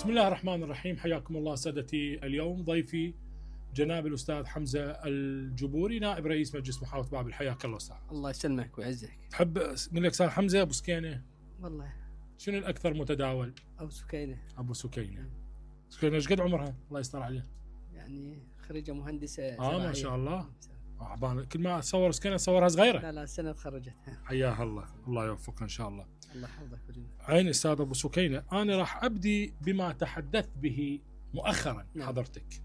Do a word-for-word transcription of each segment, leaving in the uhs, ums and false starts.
بسم الله الرحمن الرحيم. حياكم الله سادتي. اليوم ضيفي جناب الأستاذ حمزة الجبوري نائب رئيس مجلس محافظة بابل. حياك الله أستاذ. الله يسلمك ويعزك. تحب نقول لك أستاذ حمزة أبو سكينة؟ والله شنو الأكثر متداول؟ أبو سكينة. أبو سكينة. سكينة ايش قد عمرها؟ الله يستر عليها. يعني خريجة مهندسة اه ما شاء الله. آه كل ما اصور سكينة اصورها صغيرة. لا لا سنة تخرجت. حياها الله، الله يوفقها ان شاء الله. الله يحفظك ولينا. عين استاذ ابو سكينة، انا راح ابدي بما تحدثت به مؤخرا. نعم. حضرتك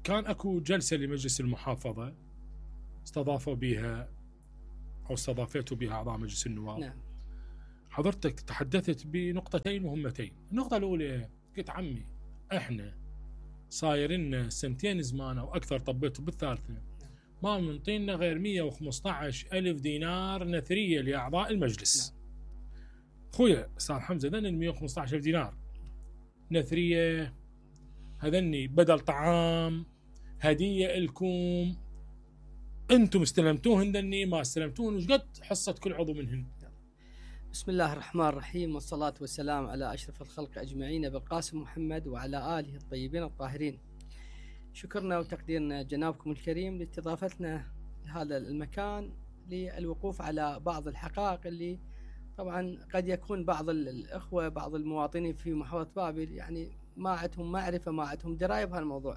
كان اكو جلسة لمجلس المحافظة استضافوا بها او استضافته بها اعضاء مجلس النواب. نعم. حضرتك تحدثت بنقطتين مهمتين. النقطة الاولى قلت عمي احنا صاير لنا سنتين زمان او اكثر، طبيته بالثالثة ما منطينا غير مئة وخمسة عشر ألف دينار نثرية لأعضاء المجلس. نعم. خويا أستاذ حمزة ذن مئة وخمسة عشر ألف دينار نثرية، هذني بدل طعام هدية لكم، أنتم استلمتوهن ذني ما استلمتوهن، وش قد حصة كل عضو منهن؟ بسم الله الرحمن الرحيم، والصلاة والسلام على أشرف الخلق أجمعين أبي القاسم محمد وعلى آله الطيبين الطاهرين. شكرنا وتقديرنا جنابكم الكريم لاستضافتنا لهذا المكان للوقوف على بعض الحقائق اللي طبعا قد يكون بعض الأخوة بعض المواطنين في محافظة بابل يعني ما عندهم معرفة ما عندهم دراية بهالموضوع.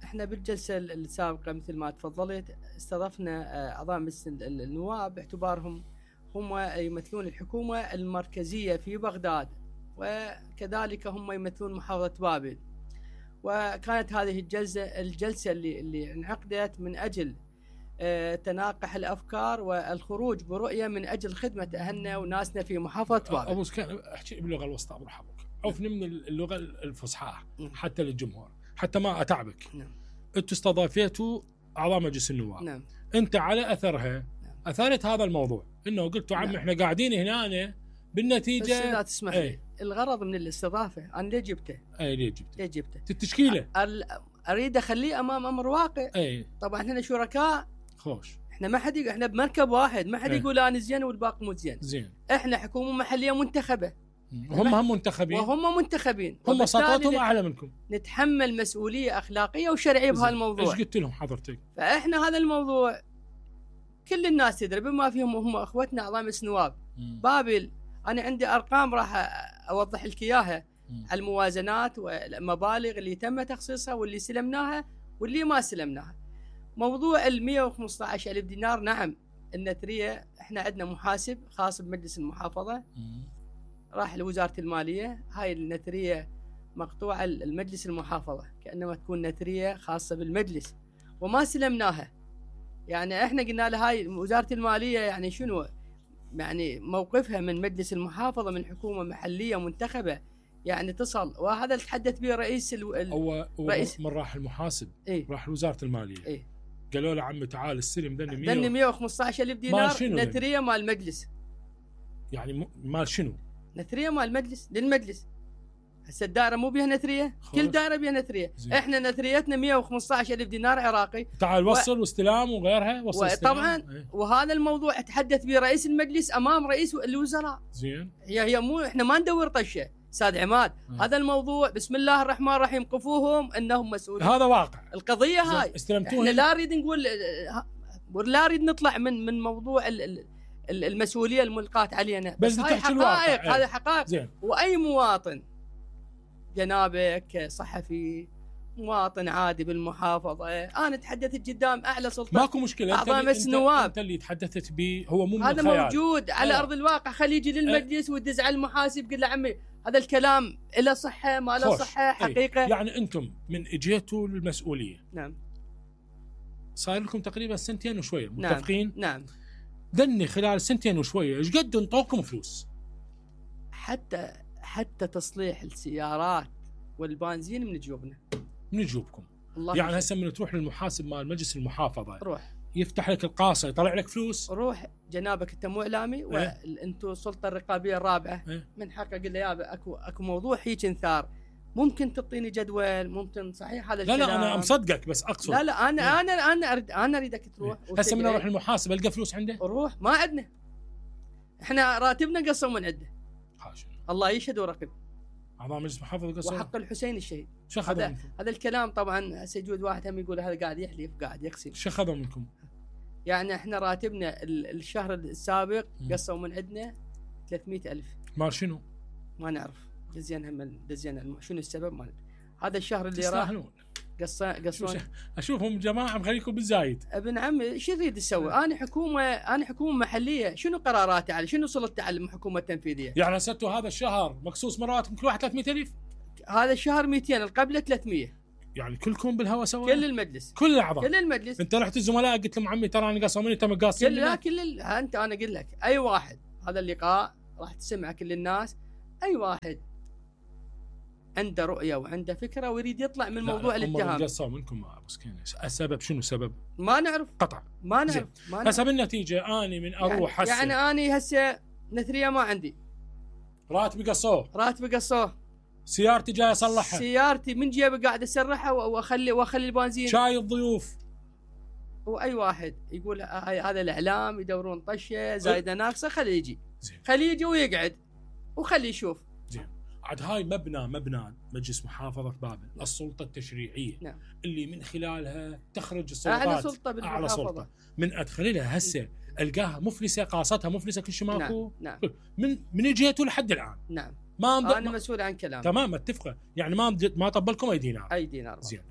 احنا بالجلسة السابقة مثل ما تفضلت استضفنا أعضاء مجلس النواب باعتبارهم هم يمثلون الحكومة المركزية في بغداد، وكذلك هم يمثلون محافظة بابل. وكانت هذه الجلسة الجلسة اللي اللي انعقدت من أجل تناقح الأفكار والخروج برؤية من أجل خدمة أهلنا وناسنا في محافظة بابل. أبو سكين أحكي باللغة الوسطى أبو رحمك، عوفني من اللغة الفصحى حتى للجمهور حتى ما أتعبك. نعم. أنتوا استضافيتوا أعضاء مجلس النواب. نعم. أنت على أثرها أثارت هذا الموضوع انه قلتوا عم. نعم. احنا قاعدين هنا بالنتيجه. بس لا تسمح لي. ايه. الغرض من الاستضافه انا ليه جبته؟ اي ليه جبته؟ ليه جبته؟ التشكيله اريد اخليه امام امر واقع. اي طبعا احنا شركاء. خوش. احنا ما حد احنا بمركب واحد، ما حد ايه. يقول انا زين والباقي مو زين. زين. احنا حكومه محليه منتخبه. هم هم منتخبين. وهم منتخبين. هم سطوتهم اعلى منكم. نتحمل مسؤوليه اخلاقيه وشرعيه بهالموضوع. ايش قلت لهم حضرتك؟ فاحنا هذا الموضوع كل الناس تدري بما فيهم هم اخوتنا اعضاء مجلس النواب. بابل انا عندي ارقام راح اوضح لك اياها على الموازنات والمبالغ اللي تم تخصيصها واللي سلمناها واللي ما سلمناها. موضوع ال مئة وخمسة عشر ألف دينار، نعم النثريه احنا عندنا محاسب خاص بمجلس المحافظه مم. راح لوزاره الماليه، هاي النثريه مقطوعه المجلس المحافظه كانما تكون نثريه خاصه بالمجلس وما سلمناها. يعني احنا قلنا له هاي وزارة المالية يعني شنو يعني موقفها من مجلس المحافظة من حكومة محلية منتخبة يعني تصل، وهذا اللي تحدث به رئيس ال... هو رئيس من راح المحاسب. ايه؟ راح لوزارة المالية. ايه؟ قالوا له عمي تعال استلم ذني مئة ذني مئة وخمسة عشر ألف دينار نثرية مال المجلس. يعني مال شنو؟ نثرية مال المجلس للمجلس. هسه الدائرة مو بيها نثرية، كل دائرة بيها نثرية. زين. احنا نثريتنا مئة وخمسة عشر ألف دينار عراقي. تعال وصل و... واستلام وغيرها وصل طبعا. ايه؟ وهذا الموضوع تحدث به رئيس المجلس امام رئيس الوزراء. زين. هي هي مو احنا ما ندور طشه استاذ عماد. اه. هذا الموضوع بسم الله الرحمن الرحيم قفوهم انهم مسؤولين. هذا واقع. القضية هاي استلمتوها. احنا لا نريد نقول لا نريد نطلع من من موضوع ال... المسؤولية الملقاة علينا. بس, بس هاي حقائق. هذه ايه. حقائق. زين. واي مواطن جنابك صحفي مواطن عادي بالمحافظة أنا تحدثت قدام أعلى سلطة ماكو مشكلة. أعضاء مجلس النواب. أنت اللي تحدثت به هو مو من هذا الخيال. موجود على أه. أرض الواقع. خليه يجي للمجلس أه. ويدز على المحاسب قل له عمي هذا الكلام له صحة ما له صحة حقيقة. ايه. يعني أنتم من إجيتوا للمسؤولية. نعم. صار لكم تقريبا سنتين وشوية متفقين. نعم. نعم. دني خلال سنتين وشوية إيش قد انطوكم فلوس؟ حتى حتى تصليح السيارات والبنزين من جيوبنا. من جيوبكم. يعني هسه من تروح للمحاسب مال مجلس المحافظة روح يفتح لك القاصة يطلع لك فلوس. روح جنابك انت مو اعلامي وانتم السلطة الرقابية الرابعة. ايه؟ من حقك قل له يابا اكو اكو موضوع هيك انثار ممكن تعطيني جدول ممكن صحيح هذا الكلام. لا لا انا مصدقك بس اقصد. لا لا انا ايه؟ انا انا اريد انا اريدك تروح. ايه؟ هسه من اروح المحاسب القى فلوس عنده؟ روح ما عندنا. احنا راتبنا قصوا من عنده. حاشا. الله يشهد ورقب. اعضاء مجلس محافظه قصور وحق الحسين الشهيد. شو اخذوا هذا منكم؟ هذا الكلام طبعا هسه يجوز واحد هم يقول هذا قاعد يحلف قاعد يقسم. شو اخذوا منكم؟ يعني احنا راتبنا ال- الشهر السابق مم. قصوا من عندنا ثلاثمئة ألف. مال شنو؟ ما نعرف دزين هم دزين الم- شنو السبب ما ندري. هذا الشهر اللي راح تستاهلون. قصا قصون. اشوفهم جماعه مخليكم بالزايد. ابن عمي ايش يريد يسوي؟ انا حكومه انا حكومه محليه، شنو قراراتي على شنو سلطتي على الحكومه التنفيذيه؟ يعني هسه هذا الشهر مقصوص من رواتب كل واحد ثلاثمئة ألف؟ هذا الشهر مئتين القبله ثلاثمئة. يعني كلكم بالهوا سوا؟ كل المجلس كل الاعضاء كل المجلس. انت رحت الزملاء قلت لهم عمي ترى انا قاصوا مني تم قاصين كل لا كل ال... انت انا اقول لك اي واحد هذا اللقاء راح تسمع كل الناس، اي واحد عنده رؤيه وعنده فكره ويريد يطلع من موضوع الاتهام. هم قاصوا منكم ابو سكينه، السبب شنو سبب؟ ما نعرف قطع ما نعرف ما نعرف. هسه بالنتيجه اني من اروح هسه يعني, يعني اني هسه نثريه ما عندي، راتبي قصوه، راتبي قصوه، سيارتي جاي اصلحها، سيارتي من جيبي قاعد اسرحها واخلي واخلي البنزين، شاي الضيوف. واي واحد يقول هذا الاعلام يدورون طشه زايده ناقصه خليه يجي، زين خليه يجي ويقعد وخليه يشوف. زين عاد هاي مبنى مبنى مجلس محافظه بابل، السلطه التشريعيه. نعم. اللي من خلالها تخرج السلطات اعلى سلطه بالمحافظه. اعلى سلطه من ادخل لها هسه القاها مفلسه، قاصتها مفلسه، كل شيء ماكو. نعم. من من اجيتوا لحد الان. نعم. ما انا ما مسؤول عن كلام. تمام متفقه، يعني ما ما طبلكم اي دينار. اي دينار. زين.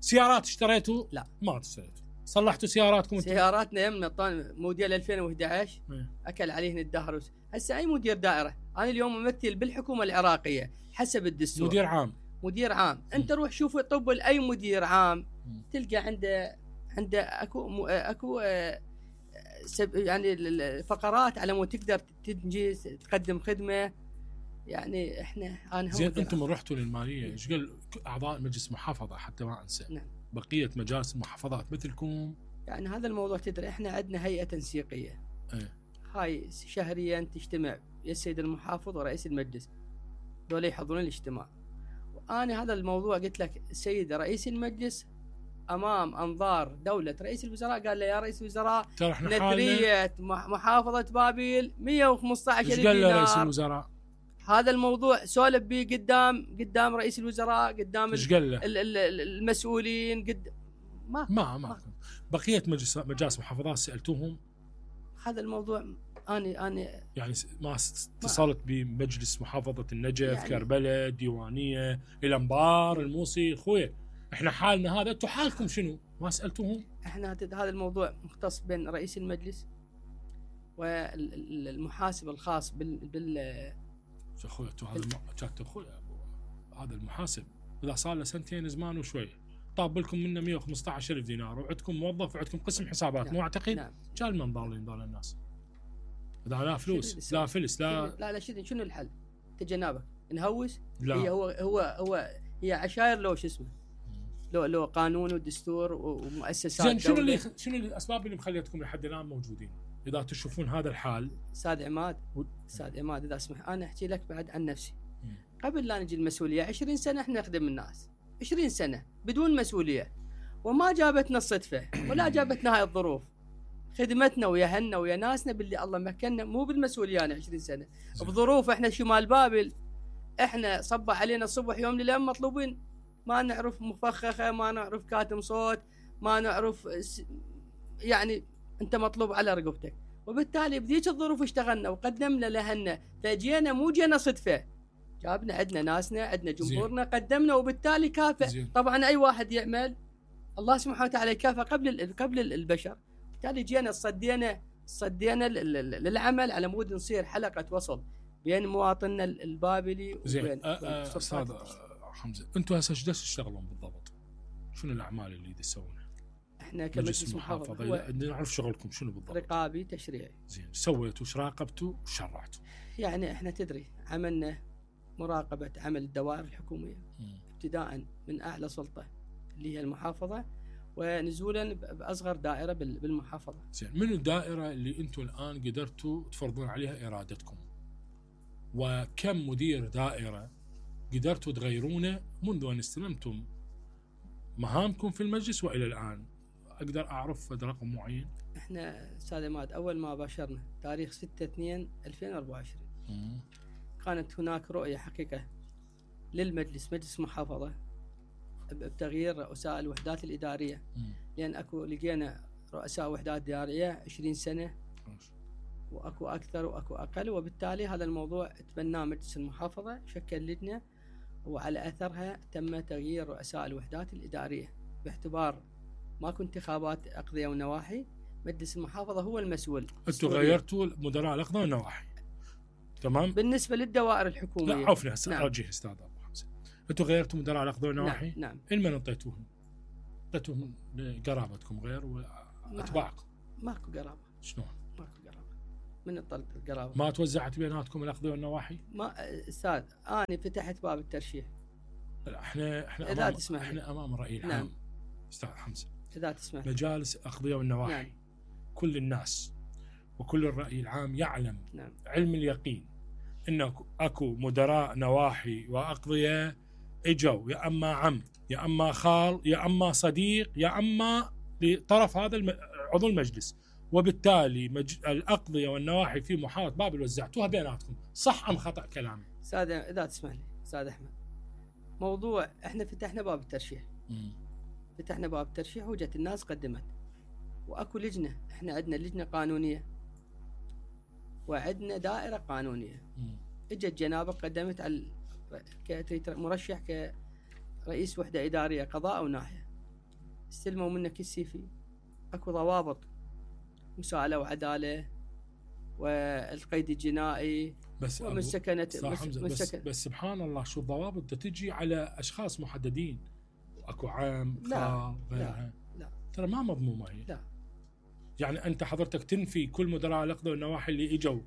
سيارات اشتريتوا؟ لا ما اشتريتوا. صلحتوا سياراتكم؟ سياراتنا يمنا طن موديل ألفين وأحد عشر مم. اكل عليهن الدهر. هسه اي مدير دائره، انا اليوم ممثل بالحكومه العراقيه حسب الدستور. مدير عام. مدير عام، مم. انت روح شوف طب اي مدير عام مم. تلقى عنده عنده اكو م- اكو آه، سب- يعني ال- الفقرات على مود تقدر تنجز تقدم خدمه. يعني احنا انا هم زين مدير انتم عام. رحتوا للماليه، ايش قال اعضاء مجلس محافظه حتى ما انسى؟ نعم. بقيه مجالس المحافظات مثلكم؟ يعني هذا الموضوع تدري احنا عندنا هيئه تنسيقيه. ايه. هاي شهريا تجتمع يا السيد المحافظ ورئيس المجلس، دول يحضرون الاجتماع. وانا هذا الموضوع قلت لك السيد رئيس المجلس امام انظار دوله رئيس الوزراء قال له يا رئيس الوزراء ترى احنا حالنا. نثريه مح- محافظه بابل مئة وخمسة عشر ايش ألف قال له رئيس دينار. الوزراء؟ هذا الموضوع سولف به قدام قدام رئيس الوزراء قدام ايش قال له؟ ال- ال- ال- المسؤولين قد ما ما ما بقيه مجلس مجالس محافظات سالتوهم؟ هذا الموضوع اني اني يعني س- ما س- اتصلت بمجلس محافظه النجف، يعني كربلاء، ديوانيه، الانبار، الموصي؟ خويا احنا حالنا هذا، انتم حالكم شنو؟ ما سالتوهم؟ احنا هت- هذا الموضوع مختص بين رئيس المجلس والمحاسب الخاص بال, بال... يا اخوي انتم هذا الم... جاك اخوي هذا المحاسب اذا صار له سنتين زمان وشويه طاب لكم منه مئة وخمسة عشر ألف دينار وعندكم موظف وعندكم قسم حسابات. نعم. مو اعتقد؟ نعم. كان من ضالين ذول الناس. اذا لا فلوس لا فلس لا لا لا شنو شنو الحل؟ تجنبك نهوس؟ لا هي هو هو هو هي عشاير لو شو اسمه؟ لو لو قانون ودستور ومؤسسات زين شنو دولة. اللي شنو الاسباب اللي مخليتكم لحد الان موجودين؟ اذا تشوفون هذا الحال. استاذ عماد و... استاذ عماد اذا اسمح انا احكي لك بعد عن نفسي. مم. قبل لا نجي المسؤوليه عشرين سنه احنا نخدم الناس، عشرين سنه بدون مسؤوليه، وما جابتنا الصدفه ولا جابتنا هاي الظروف. خدمتنا ويا هنا ويا ناسنا باللي الله مكننا مو بالمسؤوليه يعني عشرين سنه زين. بظروف. احنا شمال بابل احنا صبح علينا الصبح يوم ليله مطلوبين، ما نعرف مفخخه، ما نعرف كاتم صوت، ما نعرف س... يعني انت مطلوب على رقبتك. وبالتالي بذيك الظروف اشتغلنا وقدمنا لهنا، فجينا مو جينا صدفه، جابنا عندنا ناسنا عندنا جمهورنا قدمنا وبالتالي كافئ. زين. طبعا اي واحد يعمل الله سبحانه وتعالى يكافئ قبل ال- قبل البشر. بالتالي جينا صدينا صدينا ل- ل- للعمل على مود نصير حلقه وصل بين مواطننا البابلي زين وبين أ- أ- وبين استاذ سلطات. حمزه انتم هسه ايش تشتغلون بالضبط؟ شنو الاعمال اللي تسوونها؟ احنا مجلس كمجلس محافظه محافظه هو بدنا نعرف شغلكم شنو بالضبط؟ رقابي تشريعي. زين سويتوا ايش راقبتوا وش شرعتوا؟ يعني احنا تدري عملنا مراقبه عمل الدوائر الحكوميه مم. ابتداء من اعلى سلطه اللي هي المحافظه ونزولا ب- باصغر دائره بال- بالمحافظه. زين من الدائره اللي انتم الان قدرتوا تفرضون عليها ارادتكم؟ وكم مدير دائره قدرتوا تغيرونه منذ ان استلمتم مهامكم في المجلس والى الان؟ اقدر اعرف رقم معين؟ احنا استاذ عماد اول ما باشرنا تاريخ ستة اثنين ألفين وأربعة وعشرين مم. كانت هناك رؤيه حقيقه للمجلس مجلس محافظه بتغيير رؤساء الوحدات الاداريه، مم. لان اكو لقينا رؤساء وحدات اداريه عشرين سنه واكو اكثر واكو اقل، وبالتالي هذا الموضوع تبناه مجلس المحافظه، شكل لجنه وعلى اثرها تم تغيير رؤساء الوحدات الاداريه باعتبار ماكو انتخابات اقضيه ونواحي، مجلس المحافظه هو المسؤول. انتم غيرتوا مدراء الاقضيه والنواحي تمام بالنسبه للدوائر الحكوميه. لا عفوا هسه نعم. ارجع استاذ ابو حمزه، انتم غيرتوا مدراء الاقضيه والنواحي؟ نعم, نعم. لمن انطيتوهم؟ انطيتوهم لقرابتكم غير واتباعكم؟ ماكو قرابه. شلون؟ ماكو قرابه. من الطلق القرابه؟ ما توزعت بيناتكم الاقضيه والنواحي؟ ما استاذ انا فتحت باب الترشيح. لا احنا احنا إذا امام تسمح احنا امام الراي العام. نعم. استاذ حمزه اذا تسمح مجالس الاقضيه والنواحي. نعم. كل الناس وكل الراي العام يعلم نعم. علم اليقين ان اكو مدراء نواحي واقضيه اجوا يا اما عم يا اما خال يا اما صديق يا اما لطرف هذا الم... عضو المجلس، وبالتالي مج... الاقضيه والنواحي في محافظه بابل وزعتوها بيناتكم، صح ام خطا كلامي؟ استاذ اذا تسمح لي استاذ احمد، موضوع احنا فتحنا باب الترشيح. مم. فتحنا باب الترشيح وجت الناس قدمت، واكو لجنه، احنا عندنا لجنه قانونيه وعندنا دائره قانونيه. مم. اجت جنابك قدمت على مرشح كرئيس وحده اداريه قضاء او ناحيه، استلموا منك السي في، اكو ضوابط مساءله وعداله والقيد الجنائي بس ومسكنه بس, بس, بس سبحان الله شو الضوابط تجي على اشخاص محددين، اكو عام خال غيرها. لا ترى ما مضمومه هي. لا يعني انت حضرتك تنفي كل مدراء الاقضيه والنواحي اللي اجوا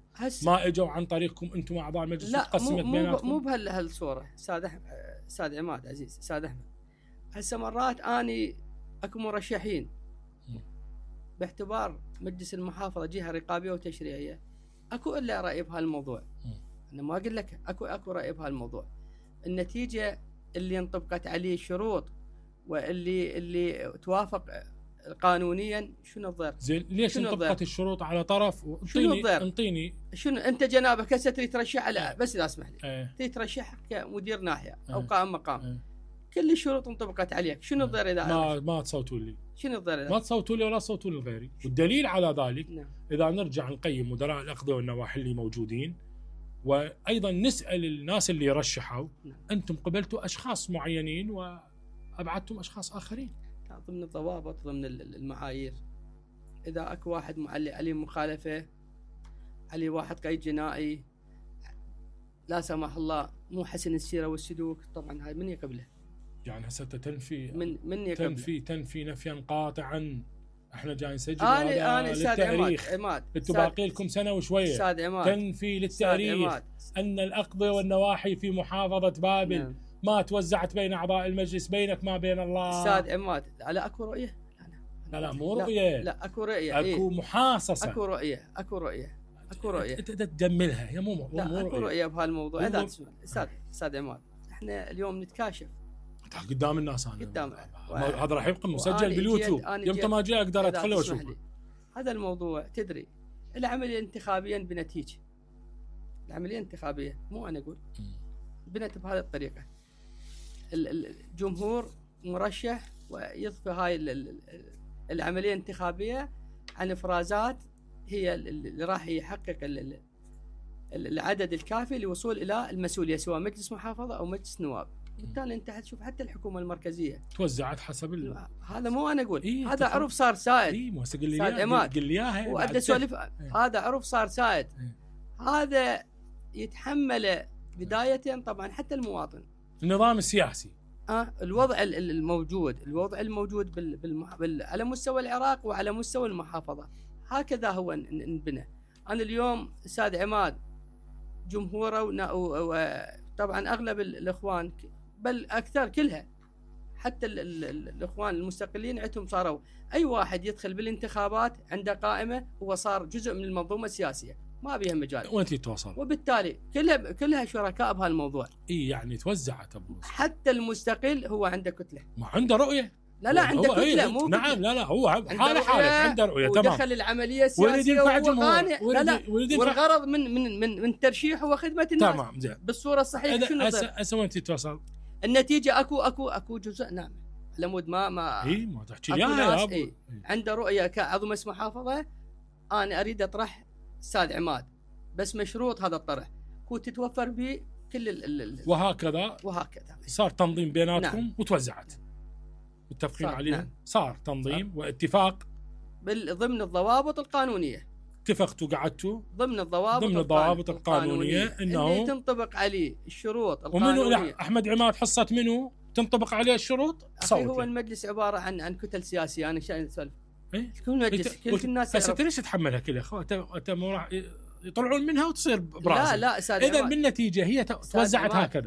ما اجوا عن طريقكم انتم اعضاء المجلس وتقسمت بيناتكم؟ مو بهالصوره استاذ استاذ عماد عزيز استاذ احمد. هسه مرات اني اكو مرشحين باعتبار مجلس المحافظه جهه رقابيه وتشريعيه، اكو الا راي بهالموضوع. انا ما اقول لك اكو اكو راي بهالموضوع. النتيجه اللي انطبقت عليه الشروط واللي اللي توافق قانونيا شنو الضرر؟ زين ليش انطبقت الشروط على طرف؟ انطيني انطيني شنو انت جنابك هسه تريد ترشح على اه. بس اذا اسمح لي اه. تريد ترشح كمدير ناحيه اه. او قائم مقام اه. كل الشروط انطبقت عليك، شنو اه. الضرر اذا ما ما تصوتوا لي؟ شنو الضرر اذا ما تصوتوا لي ولا تصوتوا لغيري؟ والدليل على ذلك نعم. اذا نرجع نقيم مدراء الاقضيه والنواحي اللي موجودين وايضا نسال الناس اللي رشحوا، نعم. انتم قبلتوا اشخاص معينين وابعدتم اشخاص اخرين ضمن الضوابط ضمن المعايير. اذا اكو واحد معلي عليه مخالفه، عليه واحد قيد جنائي لا سمح الله مو حسن السيره والسلوك، طبعا هاي من يقبله؟ يعني هسه تنفي من من يقبله؟ تنفي تنفي نفيا قاطعا. احنا جاي نسجل انا انا استاذ للتاريخ. عماد انتم باقي لكم سنه وشويه. استاذ عماد تنفي للتاريخ ان الاقضيه والنواحي في محافظه بابل نعم. ما توزعت بين اعضاء المجلس، بينك ما بين الله. استاذ عماد على اكو رؤيه؟ لا لا مو رؤيه، لا, لا اكو رؤيه، اكو إيه؟ محاصصه. اكو رؤيه اكو رؤيه اكو رؤيه انت تجملها هي مو لا مو اكو رؤيه بهالموضوع. اذا تسمع استاذ استاذ عماد، احنا اليوم نتكاشف قدام الناس. انا قدام هذا راح يبقى مسجل باليوتيوب، يوم ما اجي اقدر ادخل واشوفه. هذا الموضوع تدري العمليه انتخابيا بنتيجه، العمليه الانتخابيه مو انا اقول بنت بهذه الطريقه، الجمهور مرشح ويضفي هاي العمليه الانتخابيه عن افرازات هي اللي راح يحقق العدد الكافي للوصول الى المسؤوليه سواء مجلس محافظه او مجلس نواب. بالتالي انت حتشوف حتى الحكومه المركزيه توزعت حسب ال... هذا مو انا اقول إيه هذا عرف صار سائد. اي مو هسه قل لي اياها قل لي اياها وابدا اسولف. هذا عرف صار سائد. إيه؟ هذا يتحمله بدايه طبعا حتى المواطن، النظام السياسي. اه الوضع الموجود الوضع الموجود بال... بالمح... بال... على مستوى العراق وعلى مستوى المحافظه هكذا هو انبنى. انا اليوم استاذ عماد جمهوره وطبعا اغلب الاخوان بل اكثر كلها حتى ال ال ال الاخوان المستقلين عندهم صاروا اي واحد يدخل بالانتخابات عنده قائمه هو صار جزء من المنظومه السياسيه، ما بيها مجال وانت تتواصل، وبالتالي كلها كلها شركاء بهالموضوع. اي يعني توزعت ابو حتى المستقل هو عنده كتله، ما عنده رؤيه لا لا عنده كتله إيه مو نعم كتلة. لا لا هو عنده حاله حاله رؤية عنده رؤيه تمام ودخل العمليه ويريد السياسيه ينفع وهو الجمهور قانع. لا لا ويريد ينفع والغرض من من من من ترشيح هو خدمه الناس تمام زين بالصوره الصحيحه. شنو هسه هسه وين تتوصل؟ النتيجه اكو اكو اكو جزء نعم على مود ما ما اي ما تحكي أكو يا ناس يا ابو إيه. عنده رؤيه كعضو مجلس محافظه انا اريد اطرح استاذ عماد بس مشروط هذا الطرح هو تتوفر به كل ال ال وهكذا وهكذا صار تنظيم بيناتكم نعم. وتوزعت متفقين صار عليها نعم. صار تنظيم صار. واتفاق ضمن الضوابط القانونيه اتفقتوا قعدتوا ضمن الضوابط ضمن الضوابط القانونيه, القانونية انه اللي تنطبق عليه الشروط ومنو القانونيه. لا احمد عماد حصه منو تنطبق عليه الشروط؟ أخي هو المجلس عباره عن عن كتل سياسيه انا شايف اسولف إيه؟ كل مجلس كل الناس هسه ليش تتحملها كلها؟ خو انت انت مو راح يطلعون منها وتصير براسك. لا لا استاذ اذا عماد. بالنتيجه هي توزعت هكذا